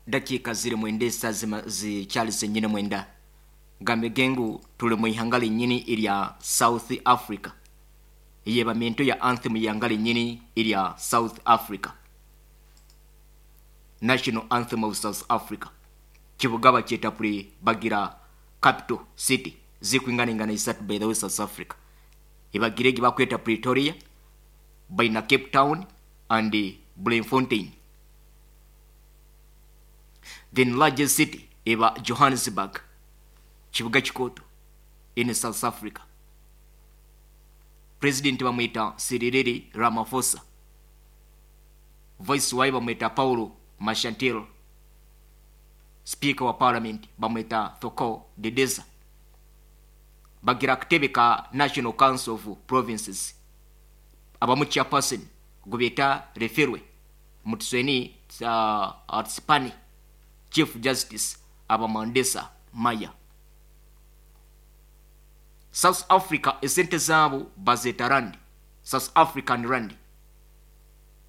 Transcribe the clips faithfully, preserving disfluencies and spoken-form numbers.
Dakiika ziri mwenda, esa zikyali zenyini mwenda. Gambege ngu tuli mu ihanga linyini erya South Africa. Eyebamento ya anthem yanga linyini erya South Africa, National Anthem of South Africa. Kibuga bakyeta puri bagira capital city zikwinganingana isatu. By the way, South Africa ibagire egi bakweta Pretoria, baina Cape Town and Bloemfontein. Then largest city eba Johannesburg, kibuga kikoto in South Africa. President bamwita Cyril Ramaphosa, vice waye bamwita Paulo Mashatile, speaker wa parliament bamwita Thoko Didiza. Bagira akatebe ka National Council of Provinces, abamu chairperson gubeta Refilwe Motsoeneng uh, Tsipane, chief justice aba Mandisa Maya. South Africa esente zaabo bazeta rand, South African rand.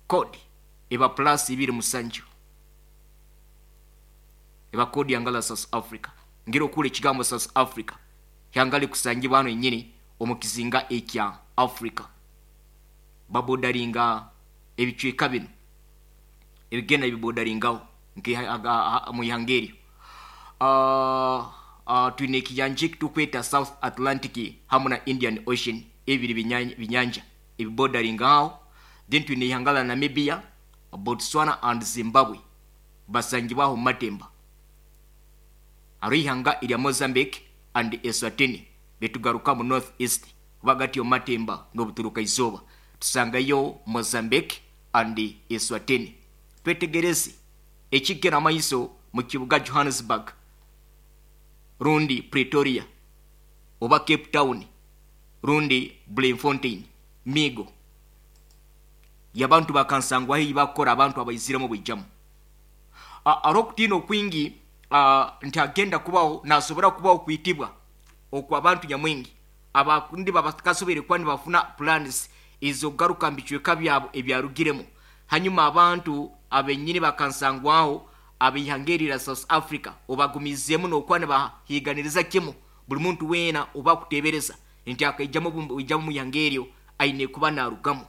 Code eba plus ibiri musanju, eba code yangala South Africa. Ngira okula ekigambo South Africa hyangali kusangibwa hano enyini omu kizinga ekya Africa. Babodaringa ebicweka bino ebigenda bibodaringaho mu ihanga eryo. uh, uh, twine ekiyanja ekitukweta South Atlantic hamu na Indian Ocean, ebiri binyanja ebibodaringa aho. Then twine ihanga la Namibia, Botswana and Zimbabwe, basangibwaho mumatemba. Hariho ihanga erya Mozambique and Eswatini. Betugaruka mu north east hagati yomumatemba n'obuturuka izooba, tusangayo Mozambique and Eswatini. Twetegereze ekigera amaiso mu kibuga Johannesburg rundi Pretoria oba Cape Town rundi Bloemfontein, migo yabantu bakansangwaho eyi bakukora abantu abaiziremu bwijamu. Ari okutiina okwingi nti agenda kubaho, nasobora kubaho kwitibwa okwa abantu nyamwingi abakundi babakasobere kuba nibafuna plans ezokugaruka mu bicweka byabo ebyarugiremu. Hanyuma abantu abenyini bakansangwaho abeihanga erira South Africa obagumizeemu nokuba nibahiganiriza kimu buli muntu weena oba kutebereza nti akaijamu ijamu mu ihanga eryo aine kuba narugamu.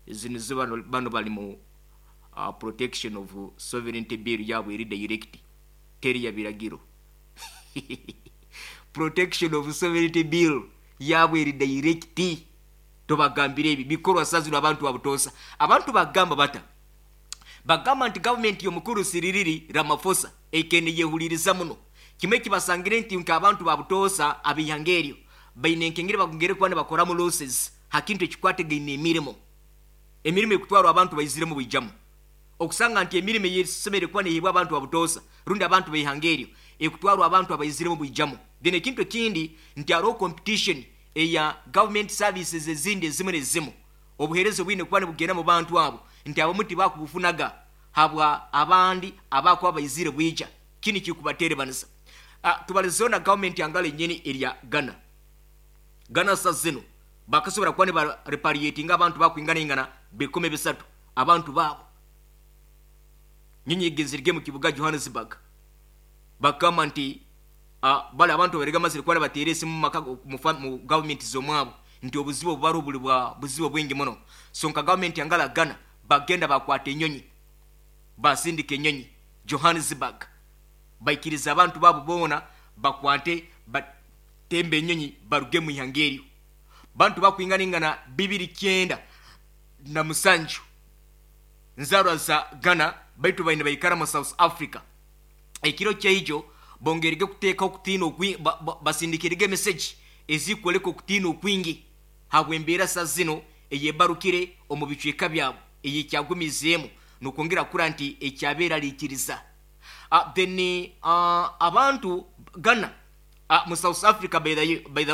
Zino zo bano, bano bali mu uh, Protection of Sovereignty Bill yabwe eri direct, teri ya biragiro. Protection of Sovereignty Bill yabwe eri direct. Tobagambire ebi bikorwa sazino abantu babutosa. Abantu bagamba bata, bagamba nti gavumenti y'omukuru Cyril Ramaphosa ekene yehuliriza muno kimwe kibasangire nti nka abantu babutosa abihanga eryo baine enkengere bagongere kuba nibakoramu losses hakintu ekikwategaine emirimo, emirimu ekutwarwa abantu baiziremu bwijamu. Okusanga nti emirimu eyesemere kuba nehebwa abantu babutosa rundi abantu beihanga eryo ekutwarwa abantu abaiziremu bwijamu. Then ekintu ekindi nti hariho competition eya government services ezindi ezimu nezimu, obuhereza bwine kuba nibugenda mu bantu abo, nti abamu tibakubufunaga habwa abandi abakuba baizire bwija. Kini kikubaterebanisa. uh, tubalizeho na gavumenti yangala enyini erya Ghana. Ghana sa zino bakasobora kuba nibarepatriatinga abantu bakwinganaingana bikumi bisatu, abantu baabo. Nyinyi egenzerege mu kibuga Johannesburg, bakamba nti uh, bali abantu barega mazire kuba nibateera esimu mu maka mu fa- mu gavumenti z'omwabo nti obuzibu obubariho buli bwa buzibu bwingi muno. So nka gavumenti yangala Ghana bagenda bakwata enyonyi, basindika enyonyi Johannesburg, baikiriza abantu baabo boona bakwate batembe enyonyi baruge mu ihanga eryo. Bantu bakwinganingana bibiri kyenda na musanju nzarwa za Ghana, baitu baine baikara mu South Africa. Ekiro kyaijo bongerege kuteeka okutiina okwi- ba- ba- basindikirege message ezikwoleka okutiina okwingi habw'embeera sa zino eyebarukire omu bicweka byabo eyekyagumizeemu nokwongera kura nti ekyabeeraliikiriza. uh, then uh, abantu Ghana uh, mu South Africa, by the, by the way.